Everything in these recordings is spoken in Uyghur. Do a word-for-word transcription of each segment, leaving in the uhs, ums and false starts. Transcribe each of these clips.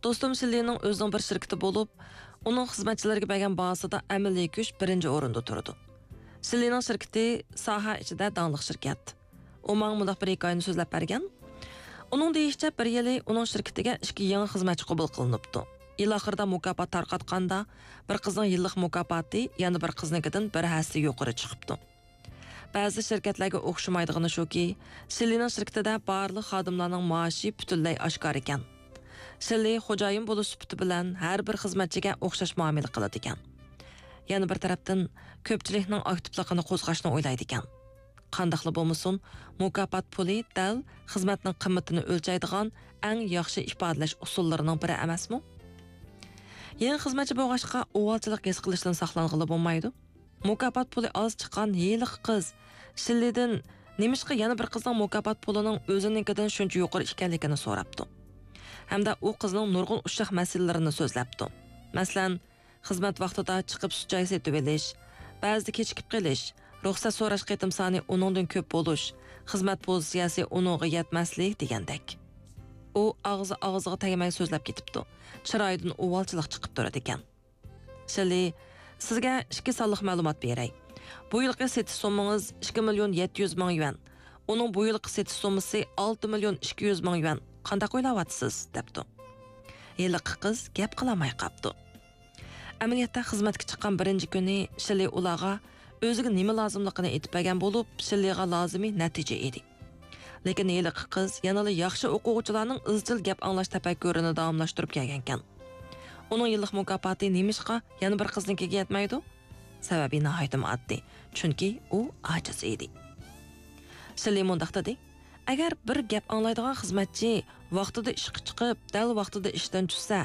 دوستۇم شىللىنىڭ ئۆزىنىڭ بىر شىركىتى بولۇپ، ئۇنىڭ خىزمەتچىلىرىگە بەرگەن باھاسىدا ئەمەلىي كۈچ بىرىنچى ئورۇندا تۇرىدۇ. شىللىنىڭ شىركىتى ساھە ئىچىدە داڭلىق شىركەت. ئۇ ماڭا مۇنداق بىر ھېكايىنى سۆزلەپ بەرگەن. ئۇنىڭ دېيىشىچە، بىر يىلى ئۇنىڭ شىركىتىگە ئىككى يېڭى خىزمەتچى قوبۇل قىلىنىپتۇ. يىل ئاخىرىدا مۇكاپات تارقاتقاندا، بىر قىزنىڭ يىللىق مۇكاپاتى، يەنە بىر قىزنىڭكىدىن بىر ھەسسە يۇقىرى چىقىپتۇ. بەزى شىركەتلەرگە ئوخشىمايدىغىنى شۇكى، شىللىنىڭ شىركىتىدە بارلىق خادىملارنىڭ مائاشى پۈتۈنلەي ئاشكارا ئىكەن. شىللى خوجايىن بولۇش سۈپىتى بىلەن ھەر بىر خىزمەتچىگە ئوخشاش مۇئامىلە قىلىدىكەن. يەنە بىر تەرەپتىن، كۆپچىلىكنىڭ ئاكتىپلىقىنى قوزغاشنى ئويلايدىكەن. قانداقلا بولمىسۇن، مۇكاپات پۇلى دەل خىزمەتنىڭ قىممىتىنى ئۆلچەيدىغان ئەڭ ياخشى ئىپادىلەش ئۇسۇللىرىنىڭ بىرى ئەمەسمۇ؟ يېڭى خىزمەتچى بولغاچقا، ئۇۋالچىلىق ھېس قىلىشتىن ساقلانغىلى بولمايدۇ. مۇكاپات پۇلى ئاز چىققان ھېلىقى قىز شىللىدىن نېمىشقا يەنە بىر قىزنىڭ مۇكاپات پۇلىنىڭ ئۆزىنىڭكىدىن شۇنچە يۇقىرى ئىكەنلىكىنى سوراپتۇ. ھەمدە ئۇ قىزنىڭ نۇرغۇن ئۇششاق مەسىلىلىرىنى سۆزلەپتۇ. مەسىلەن، خىزمەت ۋاقتىدا چىقىپ سۈت چاي سېتىۋېلىش، بەزىدە كېچىكىپ قېلىش، رۇخسەت سوراش قېتىم سانى ئۇنىڭدىن كۆپ بولۇش، خىزمەت پوزىتسىيەسى ئۇنىڭغا يەتمەسلىك دېگەندەك. ئۇ ئاغزى ئاغزىغا تەگمەي سۆزلەپ كېتىپتۇ. چىرايىدىن ئۇۋالچىلىق چىقىپ تۇرىدىكەن. شىللى، سىزگە ئىككى سانلىق مەلۇمات بېرەي. بۇ يىلقى سېتىش سوممىڭىز ئىككى مىليون يەتتە يۈز مىڭ يۈەن. ئۇنىڭ بۇ يىلقى سېتىش سوممىسى ئالتە مىليون ئىككى يۈز مىڭ يۈەن. قانداق ئويلاۋاتىسىز؟ دەپتۇ. ھېلىقى قىز گەپ قىلالماي قاپتۇ. ئەمەلىيەتتە خىزمەتكە چىققان بىرىنچى كۈنى شىللى ئۇلارغا ئۆزىگە نېمە لازىملىقىنى ئېيتىپ بەرگەن بولۇپ، شىللىغا لازىمى نەتىجە ئىدى. لېكىن ھېلىقى قىز يەنىلا ياخشى ئوقۇغۇچىلارنىڭ ئىزچىل گەپ ئاڭلاش تەپەككۇرىنى داۋاملاشتۇرۇپ كەلگەنكەن. ئۇنىڭ يىللىق مۇكاپاتى نېمىشقا يەنە بىر قىزنىڭكىگە يەتمەيدۇ؟ سەۋەبى ناھايىتىمۇ ئاددىي. چۈنكى ئۇ ئاجىز ئىدى. شىللى مۇنداق دېدى: «ئەگەر بىر گەپ ئاڭلايدىغان خىزمەتچى ۋاقتىدا ئىشقا چىقىپ، دەل ۋاقتىدا ئىشتىن چۈشسە،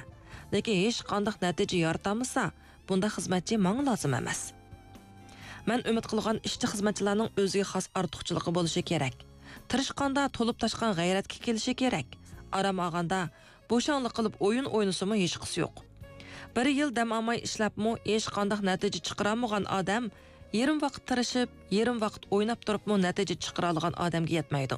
لېكىن ھېچقانداق نەتىجە يارىتالمىسا، بۇنداق خىزمەتچى ماڭا لازىم ئەمەس.» مەن ئۈمىد قىلغان ئىشچى خىزمەتچىلەرنىڭ ئۆزىگە خاس ئارتۇقچىلىقى بولۇشى كېرەك. تىرىشقاندا تولۇپ تاشقان غەيرەتكە كېلىشى كېرەك. ئارام ئالغاندا بوشاڭلىق قىلىپ ئويۇن ئوينىسىمۇ ھېچقىسى يوق. بىر يىل دەم ئالماي ئىشلەپمۇ ھېچقانداق نەتىجە چىقىرالمىغان ئادەم يېرىم ۋاقىت تىرىشىپ، يېرىم ۋاقىت ئويناپ تۇرۇپمۇ نەتىجە چىقىرالىغان ئادەمگە يەتمەيدۇ.